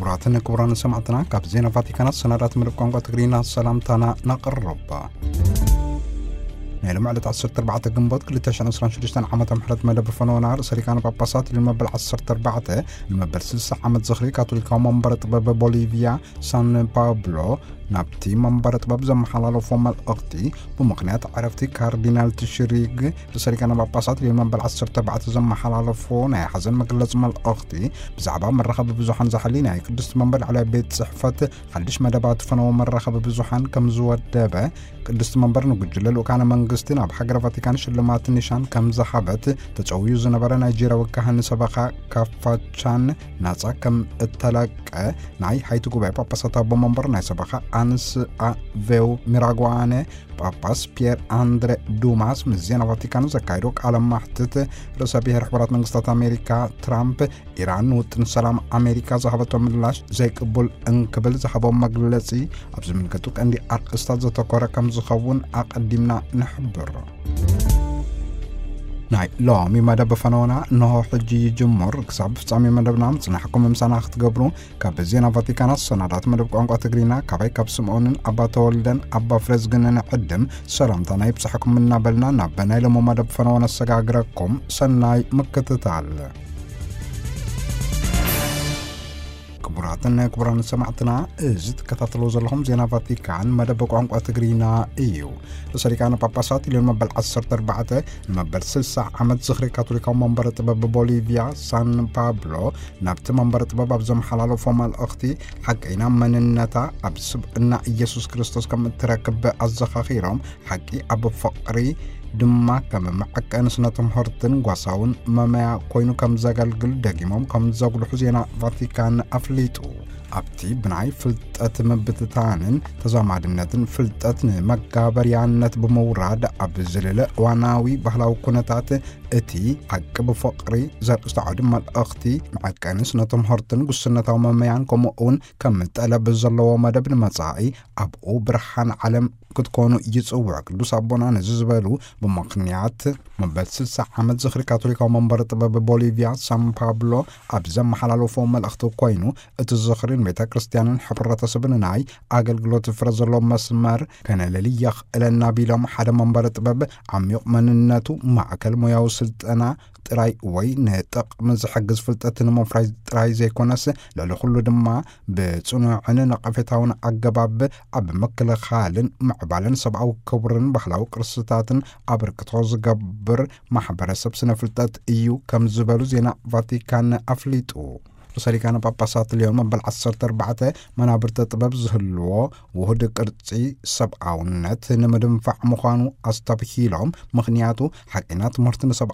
ክቡራትን ክቡራን ሰማዕትና፣ ካብ ዜና ቫቲካናት ሰናዳት መደብ ቋንቋ ትግርኛ ሰላምታና ናቕርብ። ናይ ሎም ዕለት ዓሰርተ ኣርባዕተ ግንቦት ክልተ ሽሕን ዕስራን ሽዱሽተን ዓመተ ምሕረት መደብ ፈነወና ርእሰ ሊቃነ ጳጳሳት ልዮን መበል ዓሰርተ ኣርባዕተ ንመበል ስልሳ ዓመት ዝኽሪ ካቶሊካዊ መንበረ ጥበብ ቦሊቪያ ሳን ፓብሎ ናብቲ መንበረ ጥበብ ዘመሓላለፎ መልእኽቲ፣ ብምኽንያት ዕረፍቲ ካርዲናል ትሽሪግ ርእሰ ሊቃነ ጳጳሳት ልዮን መበል ዓሰርተ ኣርባዕተ ዘመሓላለፎ ናይ ሓዘን መግለጺ መልእኽቲ፣ ብዛዕባ መራኸቢ ብዙሓን ዝሓሊ ናይ ቅድስቲ መንበር ላዕለዋይ ቤት ጽሕፈት ሓድሽ መደባት ፈነወ መራኸቢ ብዙሓን ከም ዝወደበ፣ ቅድስቲ መንበር ንጉጅለ ልኡካነ መንግስቲ ናብ ሃገረ ቫቲካን ሽልማት ኒሻን ከም ዝሃበት፣ ተጸውዩ ዝነበረ ናይጄርያዊ ካህን ሰበኻ ካፋቻን ናጻ ከም እተለቀ ናይ ሃይቲ ጉባኤ ጳጳሳት ኣቦ መንበር ናይ ሰበኻ ኣንስ ኣቬው ሚራጓነ ጳጳስ ፒየር ኣንድረ ዱማስ ምስ ዜና ቫቲካን ዘካየዶ ቃለ ማሕትት፣ ርእሰ ብሔር ሕቡራት መንግስታት ኣሜሪካ ትራምፕ ኢራን ንውጥን ሰላም ኣሜሪካ ዝሃበቶ ምላሽ ዘይቅቡል እንክብል ዝሃቦ መግለጺ ኣብ ዝምልከቱ ቀንዲ ኣርእስታት ዘተኮረ ከም ዝኸውን ኣቐዲምና ንሕብር። ናይ ሎሚ መደብ ፈነወና እንሆ ሕጂ ይጅምር። ክሳብ ፍጻሜ መደብና ምጽናሕኩም ምሳና ክትገብሩ ካብ ዜና ቫቲካን ኣሰናዳት መደብ ቋንቋ ትግርኛ ካባይ ካብ ስምዖንን ኣባ ተወልደን ኣባ ፍሬዝግንን ዕድም ሰላምታና ይብጻሕኩም እናበልና ናብ ናይ ሎሚ መደብ ፈነወ ነሰጋግረኩም። ሰናይ ምክትታል። ክቡራትን ክቡራን ሰማዕትና፣ እዚ ትከታተልዎ ዘለኹም ዜና ቫቲካን መደብ ቋንቋ ትግርኛ እዩ። ርእሰ ሊቃነ ጳጳሳት ልዮን መበል ዓሰርተ ኣርባዕተ ንመበል ስልሳ ዓመት ዝኽሪ ካቶሊካዊ መንበረ ጥበብ ቦሊቪያ ሳን ፓብሎ ናብቲ መንበረ ጥበብ ኣብ ዘመሓላለፎ መልእኽቲ፣ ሓቀይና መንነታ ኣብ ስብእና ኢየሱስ ክርስቶስ ከም እትረክብ ኣዘኻኺሮም፣ ሓቂ ኣብ ፍቕሪ ድማ ከም መዐቀኒ ስነ ትምህርትን ጓሳውን መመያ ኮይኑ ከም ዘገልግል ደጊሞም ከም ዘጉልሑ ዜና ቫቲካን ኣፍሊጡ። ኣብቲ ብናይ ፍልጠት ምብትታንን ተዛማድነትን ፍልጠት ንመጋበርያነት ብምውራድ ኣብ ዝልለ እዋናዊ ባህላዊ ኩነታት፣ እቲ ሓቂ ብፍቕሪ ዘርእስቲ ዓውዲ መልእኽቲ መዐቀኒ ስነ ትምህርትን ጉስነታዊ መመያን ከምኡ እውን ከም ጠለብ ዘለዎ መደብ ንመጻኢ ኣብኡ ብርሃን ዓለም ክትኮኑ ይጽውዕ። ቅዱስ ኣቦና ነዚ ዝበሉ ብምኽንያት መበል ስልሳ ዓመት ዝኽሪ ካቶሊካዊ መንበረ ጥበብ ቦሊቪያ ሳን ፓብሎ ኣብ ዘመሓላለፎ መልእኽቲ ኮይኑ፣ እቲ ዝኽሪ ንቤተ ክርስቲያንን ሕብረተሰብን ናይ ኣገልግሎት ፍረ ዘለዎ መስመር ከነለሊ የኽእለና ቢሎም፣ ሓደ መንበረ ጥበብ ዓሚቕ መንነቱ፣ ማዕከል ሞያዊ ስልጠና ጥራይ ወይ ንጥቕሚ ዝሕግዝ ፍልጠት ንምፍራይ ጥራይ ዘይኮነስ፣ ልዕሊ ኩሉ ድማ ብጽኑዕን ነቐፌታውን ኣገባብ ኣብ ምክልኻልን ምዕባለን ሰብኣዊ ክብርን ባህላዊ ቅርስታትን ኣበርክቶ ዝገብር ማሕበረሰብ ስነ ፍልጠት እዩ ከም ዝበሉ ዜና ቫቲካን ኣፍሊጡ። ርእሰ ሊቃነ ጳጳሳት ልዮን መበል ዓሰርተ ኣርባዕተ መናብርተ ጥበብ ዝህልዎ ውሁድ ቅርጺ ሰብኣውነት ንምድንፋዕ ምዃኑ ኣስተብሂሎም፣ ምኽንያቱ ሓቀይና ትምህርቲ ንሰብ